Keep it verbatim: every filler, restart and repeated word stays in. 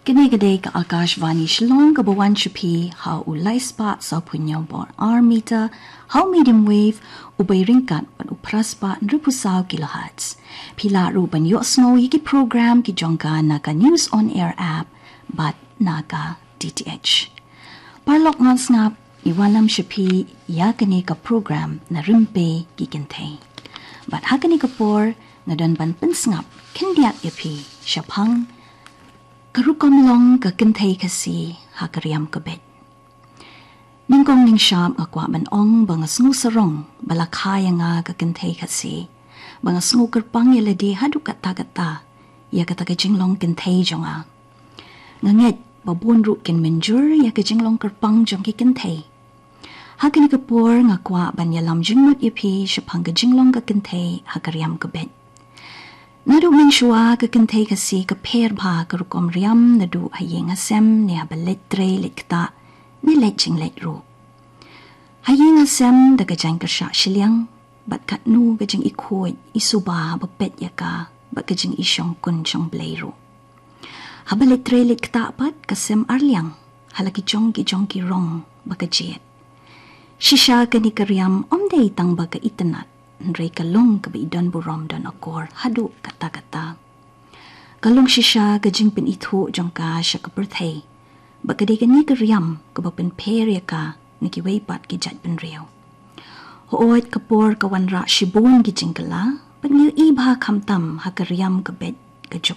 Kane ka dei ka Akashvani Shillong kaba wan sha phi ha u lai spah saw phew hynñiew bor ar meter, ha u medium wave, u bei ryngkat bad u phra spah hynriew phew saw kilohertz. Phi lah ruh ban ïohsngew ïa ki program ki jong ka na ka News on Air app bad na ka D T H. Paralok, ngan sngap, ngi wanlam sha phi ïa kane ka program Na Rympei ki Kynthei. Bad ha kane ka por nga don ban pynsngap khyndiat ïa phi shaphang ka rukom long ka kynthei Khasi ha ka riam ka beit. Nyngkong nyngshap nga kwah ban ong ba nga sngew sarong ba la kha ïa nga ka kynthei Khasi, ba nga sngew kyrpang ïa lade haduh katta katta ïa kata ka jinglong kynthei jong nga. Nga ngeit ba bun ruh kin mynjur ïa ka jinglong kyrpang jong ki kynthei. Ha kane ka por nga kwah ban ïalam jingmut ïa phi shaphang ka jinglong ka kynthei ha ka riam ka beit. Naduh mynshuwa ka kynthei Khasi ka pher bha ka rukom riam naduh ha ïing ha sem ne haba leit trei leit ktah ne leit jingleit ruh. Ha ïing ha sem da ka jaiñkyrshah shiliang bad katno ka jingikhuid isuba ba peit ïa ka bad ka jingishongkun shongblei ruh. Haba leit trei leit ktah pat ka sem arliang ha la ki jong ki jong ki rong ba ka jied. Shisha kane ka riam ym dei tang ba ka itynnad, hynrei ka long kaba i don burom don akor haduh katta katta. Ka long shisha ka jingpynithuh jong ka sha ka pyrthei ba ka dei kane ka riam kaba pynpher ïa ka na kiwei pat ki jaitbynriew. Hooid, ka por ka wanrah shibun ki jingkylla bad ngi ïohi bha khamtam ha ka riam ka beit ka juk